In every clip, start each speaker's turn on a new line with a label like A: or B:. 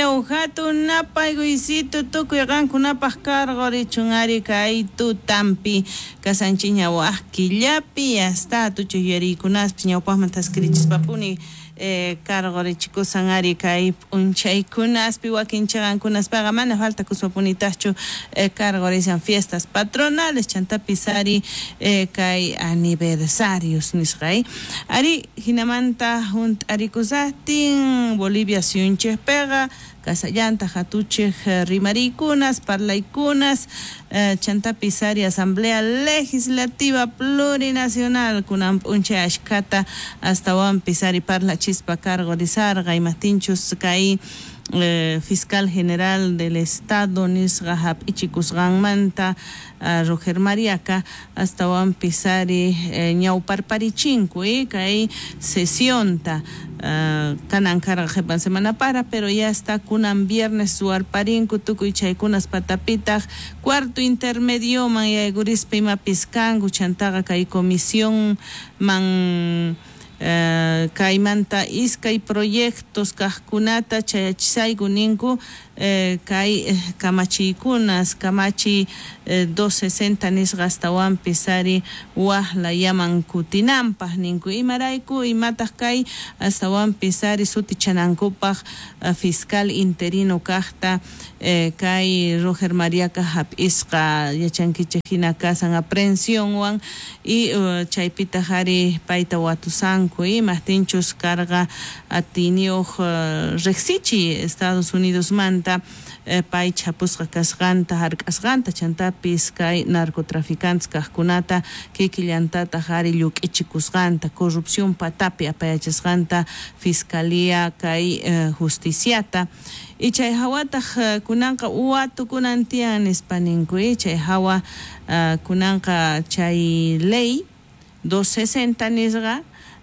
A: Bolivia hatun napaykuysito tukuy qankunapaq karqurichun ari kay tutampi kasanchikña wak killapi hasta tuchuy yuyariykunaspis ñawpaqman thaskirichispapuni karqurichikusan ari kay p'unchaykunaspi wakin chiqankunaspaqa mana falta kuspapunitaqchu karqurisan fiestas patronales chantapis ari kay aniversarios nisqa ari hinamanta hunt'arikusaqtin Bolivia suyunchikpiqa kasallanta hatuchik rimariykunas parlaykunas chantapis ari Asamblea Legislativa Plurinacional kunan p'unchay ashkhata astawanpis ari parlachispa karqurisarqa imaptinchus kay fiscal general del Estado nisqa hap'ichikusqanmanta Roger Mariaca astawanpis ari ñawparparichinku kay sesionta kanan karqa qhipan semana para pero ya está kunan viernes ruwarparinku tukuy chaykunas patapitaq cuarto intermedioman yaykurispa imapis kanku chantaqa kay comisión man kaymanta iskay proyectos kaqkunata chayachisayku ninku kay kamachiykunas kamachiy 260 nisqa astawanpis ari waqlayaman kutinanpaq ninku imarayku imataq kay astawanpis ari sutichanankupaq fiscal interino kaqta kay Roger Mariaca hap'isqa yachankichik hina kasan aprehensionwan y chaypitaq ari payta watusanku imaqtinchus karqa atiyniyuq riqsichi Estados Unidos manta pay chapusqa kasqanta hark'asqanta chantapis kay narcotraficantes kaqkunata kikillantataq ari lluk'ichikusqanta corrupción patapi apayachasqanta fiscalía kay justiciata y chay hawataq kunanqa watukunan tiyan nispa ninku chay hawa kunanqa chay ley 260 nisqa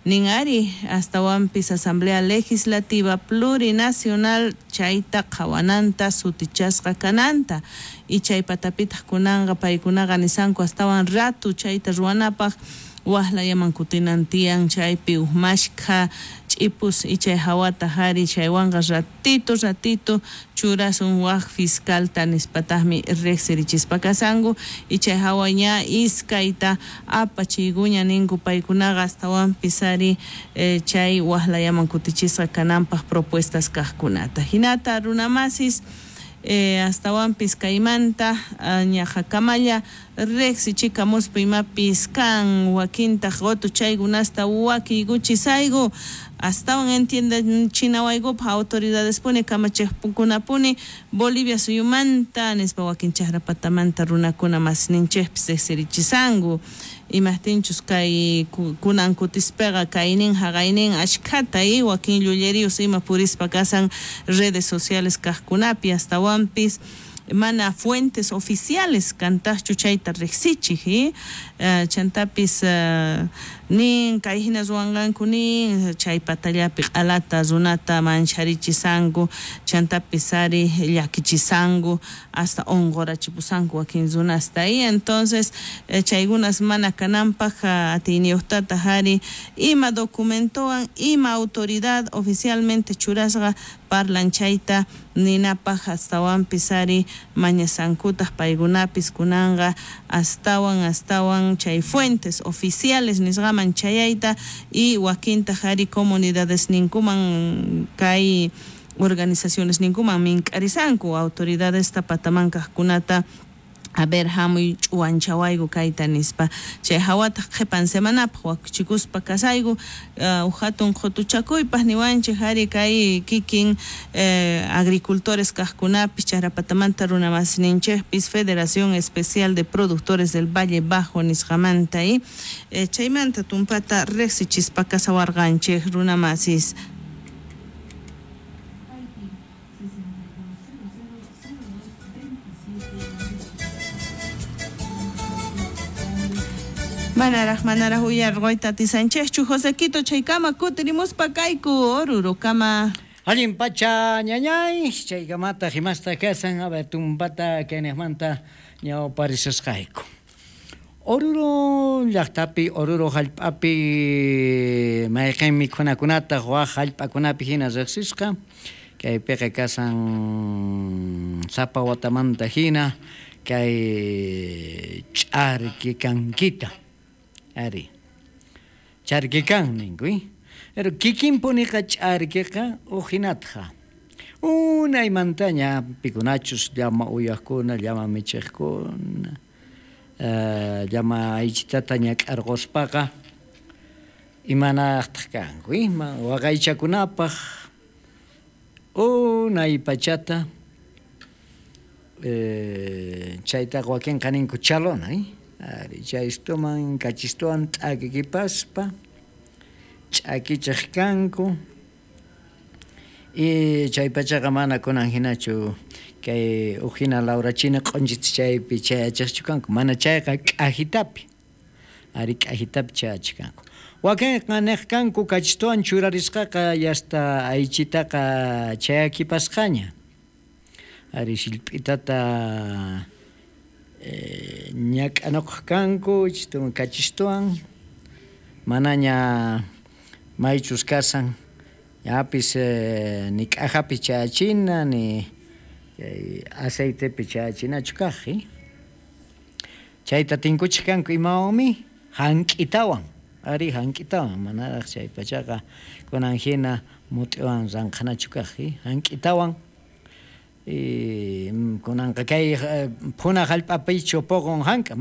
A: nin ari astawanpis Asamblea Legislativa Plurinacional chayta qhawananta sutichasqa kananta y chay patapitaq kunanqa paykunaqa nisanku astawan ratu chayta ruwanapaq waqlayaman kutinan tiyan chaypi huk mashkha ch'ipus y chay hawata ari chaywanqa ratito ratito churasun wak fiscalta nispataqmi riqsirichispa kasanku y chay hawa ña iskayta apachiykuña ninku paykunaqa astawanpis ari chay waqlayaman kutichisqa kananpaq propuestas kaqkunata hinata runamasis astawanpis kaymanta ñaqakamalla riqsichikamuspa imapis kan wakintaq qutu chaykunasta wakiykuchisayku astawan entiendechinawaykupaq autoridadespuni kamachiqkunapuni Bolivia suyumanta nispa wakin chaqrapatamanta runakuna masninchikpis riqsirichisanku imaqtinchus kay kunan kutispaqa kaynin haqaynin ashkhata wakin llulleriyos ima purispa kasan redes sociales kaqkunapi astawanpis mana fuentes oficiales kantaqchu chayta riqsichik chantapis nin kay hina ruwanqanku nin chay patallapi q'alata runata mancharichisqanku chantapis ari llakichisanku hasta unqurachipusanku wakin runasta y entonces chaykunas mana kananpaq atiyniyuqtataq ari ima documentowan ima autoridad oficialmente churasqa parlan chayta ninapaq astawanpis ari mañasankutaq paykunapis kunanqa astawan astawan chay fuentes oficiales nisqaman chayayta y wakintaq ari comunidades ninkuman kay organizaciones ninkuman mink'arisanku autoridades pataman kaqkunata a ver hamuy ch'uwanchawayku kayta nispa chay hawataq qhipan semanapaq wakichikuspa kasayku hatun qhutuchakuypaq niwanchik ari kay kikin agricultores kaqkunapis chaqrapatamanta runamasninchikpis Federación Especial de Productores del Valle Bajo nisqamanta chaymanta tumpata riqsichispa kasawarqanchik runamasis. Manaraq manaraq uyarquyta atisanchikchu Josequito chaykama kutirimuspa kayku Orurokama.
B: Allin pacha ñañay chaykamata himasta kasan a ver tumpata kayniqmanta ñawparisasqayku. Oruro llaqtapi Oruro hallp'api mayqin mikhunakunata wak hallp'akunapi hina riqsisqa Kaypiqa kasan sapa watamanta hina kay ch'arkikankita. Ari. Charkikan ninku, Pero kikinpuniqa ch'arkiqa uj hinatqa. Unaymantaña pikunachus llama uyaqkuna, llama michiqkuna, llama aychitata ñak'arquspaqa imanaqtaq kanku, ima waqaychakunapaq unay pachata chaytaqa wakinqa ninku chalona, ari chaystuman kachistuwan t'akikipaspa ch'akichiq kanku y chay pachaqa mana kunan hinachu kay uj hina lawrachina q'unchita chaypi chayachiqchu kanku, mana chayqa k'ajitapi, ari k'ajitapi chayachiq kanku. Wakinqa niq kanku kachistuwan churarisqaqa yasta aychitaqa chayakipasqaña, ari sillp'itata ñak'anuqaq kanku kachistuwan manaña maychus kasan yapis ni k'ajapi chayachina ni aceitepi chayachinachu kaq, chayta tinkuchiq kanku imawanmi hank'itawan, ari hank'itawan manaraq chay pachaqa kunan hina mut'iwan ranqhanachu kaq, hank'itawan y kunanqa kay phuna hallp'apichu puqun hank'a.